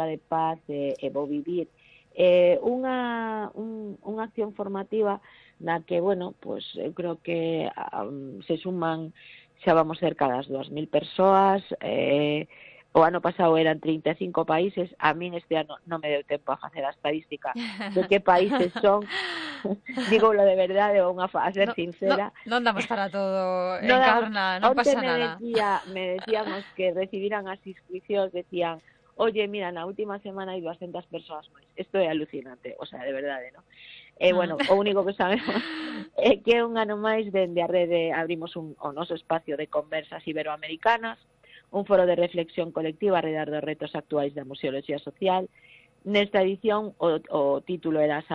Cultura de Paz e Bo Vivir, unha acción formativa na que, bueno, pues eu creo que se suman, xa vamos cerca das 2.000 persoas, o ano pasado eran 35 países, a min este ano non me deu tempo a facer a estadística de que países son, dígolo de verdade, a ser sincera. Non damos para todo, No damos. Encarna, non Onte pasa nada. me decían os que recibiran as inscripcións, decían, oye, mira, na última semana hai 200 persoas máis. Isto é alucinante, o sea, de verdade, ¿no? Bueno, o único que sabemos é que un ano máis dende a rede abrimos o noso espacio de conversas iberoamericanas, un foro de reflexión colectiva arredor dos retos actuais da museoloxía social. Nesta edición o título era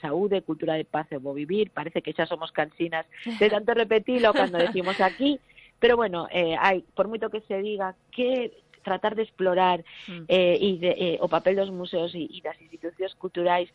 Saúde, Cultura de Paz e Bo Vivir. Parece que xa somos cansinas de tanto repetilo cando decimos aquí, pero bueno, hai, por moito que se diga, que tratar de explorar o papel dos museos e das institucións culturais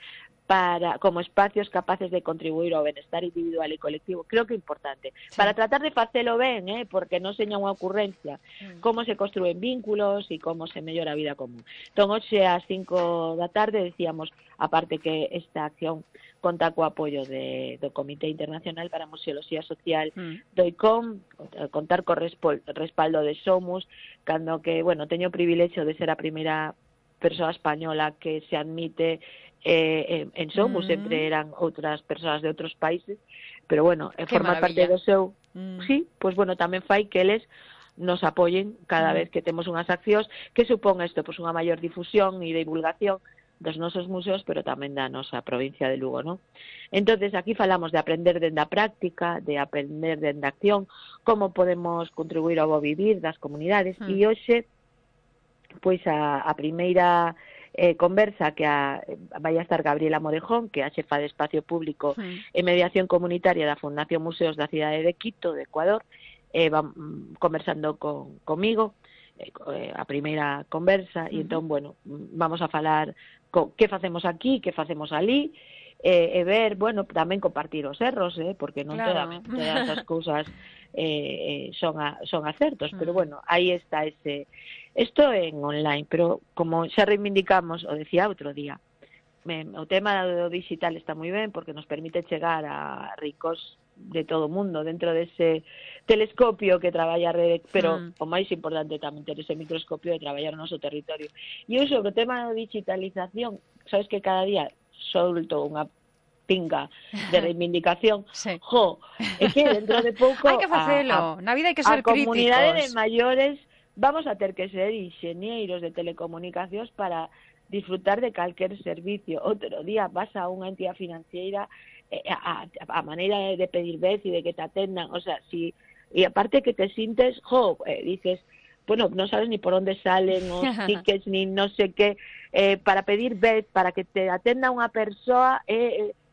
como espacios capaces de contribuir ao benestar individual e colectivo, creo que é importante. Sí. Para tratar de facelo ben, porque non seña unha ocurrencia, como se construen vínculos e como se mellora a vida común. Entón, hoxe ás 5 da tarde decíamos, aparte que esta acción conta co apoio do Comité Internacional para a Museoloxía Social do ICOM, contar co respaldo de Somus, cando que, bueno, teño o privilexio de ser a primeira persoa española que se admite en Somus, sempre eran outras persoas de outros países, pero bueno, formar parte do seu sí, pues bueno, tamén fai que eles nos apoyen cada vez que temos unhas accións. Que supón isto? Pues unha maior difusión e divulgación dos nosos museos, pero tamén da nosa provincia de Lugo, ¿no? Entonces, aquí falamos de aprender dende a práctica, de aprender dende a acción, como podemos contribuir ao bo vivir das comunidades, e hoxe, pois a primeira conversa que vai a estar Gabriela Morejón, que é a xefa de Espacio Público e Mediación Comunitaria da Fundación Museos da cidade de Quito, de Ecuador, conversando comigo, a primeira conversa, e entón, bueno, vamos a falar que facemos aquí, que facemos ali, e ver, bueno, tamén compartir os erros, porque non todas as cousas son acertos, pero bueno, aí está isto en online, pero como xa reivindicamos, o decía outro día, o tema do digital está moi ben porque nos permite chegar a ricos de todo o mundo dentro dese telescopio que traballa a rede, pero o máis importante tamén ter ese microscopio de traballar o noso territorio. E eu sobre o tema da digitalización, sabes que cada día solto unha pinga de reivindicación. É que dentro de pouco hai que facelo, na vida hai que ser críticos. A comunidade de maiores vamos a ter que ser inxeñeiros de telecomunicacións para disfrutar de calquer servicio. Outro día vas a unha entidade financiera, a maneira de pedir vez e de que te atendan, o sea, si, e aparte que te sintes, dices, bueno, non sabes ni por onde salen os tickets, ni non sei que, para pedir vez, para que te atenda unha persoa,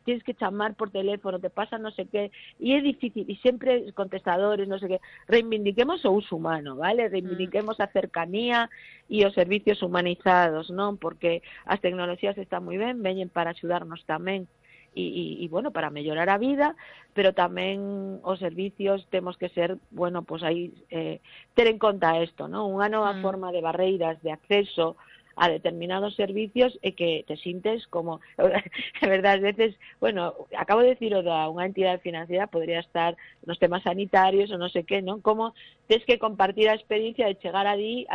tienes que chamar por teléfono, te pasa non sei que, e é difícil, e sempre contestadores, non sei que, reivindiquemos o uso humano, vale? Reivindiquemos a cercanía e os servicios humanizados, non? Porque as tecnoloxías están moi ben, veñen para axudarnos tamén, e bueno, para mellorar a vida, pero tamén os servicios temos que ser, bueno, pues aí ter en conta isto, non? Unha nova forma de barreiras de acceso a determinados servicios e que te sintes como, de verdade, a veces, bueno, acabo de decir unha entidade financiera, podría estar nos temas sanitarios ou non sei que, non? Como tens que compartir a experiencia de chegar ali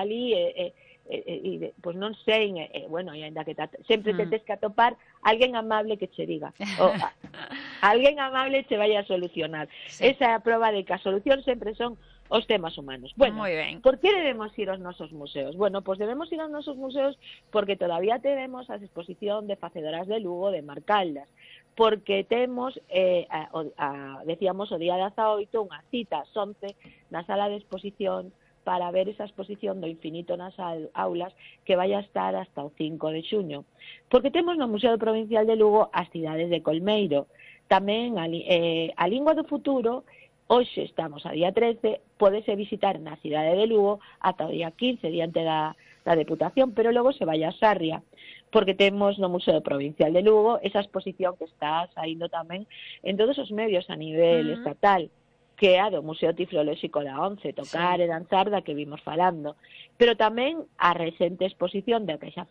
pues non sei, bueno, e ainda que sempre te tens que atopar alguén amable que che diga, alguén amable che vai a solucionar. Esa é a proba de que a solución sempre son os temas humanos. Bueno, por que debemos ir aos nosos museos? Bueno, pues debemos ir aos nosos museos porque todavía tenemos a exposición de Facedoras de Lugo, de Marcaldas, porque temos, decíamos, o día 18, unha cita ás 11 na sala de exposición para ver esa exposición do infinito nas aulas que vai a estar hasta o 5 de xuño. Porque temos no Museo Provincial de Lugo as cidades de Colmeiro, tamén a Lingua do Futuro. Hoxe estamos a día 13, pódese visitar na cidade de Lugo ata o día 15, diante da Deputación, pero logo se vai a Sarria, porque temos no Museo Provincial de Lugo esa exposición que está saindo tamén en todos os medios a nivel estatal, que é a do Museo Tiflolóxico da ONCE, tocar e danzar, da que vimos falando, pero tamén a recente exposición da que xa falamos,